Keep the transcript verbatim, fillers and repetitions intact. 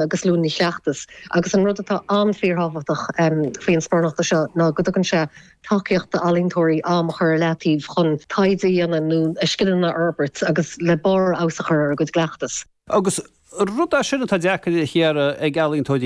Agus Luain Chleachtas. Agus an rud atá an-fhíorthábhachtach um, faoin sparánacht seo ná go dtugann sé tacaíocht d'ealaíontóirí am a chur ar leataobh chun taighde a dhéanamh nó a scileanna a fhorbairt agus le barr feabhais a chur ar a gcuid cleachtas. Agus rud é sin atá deacair a chiara ag ealaíontóirí.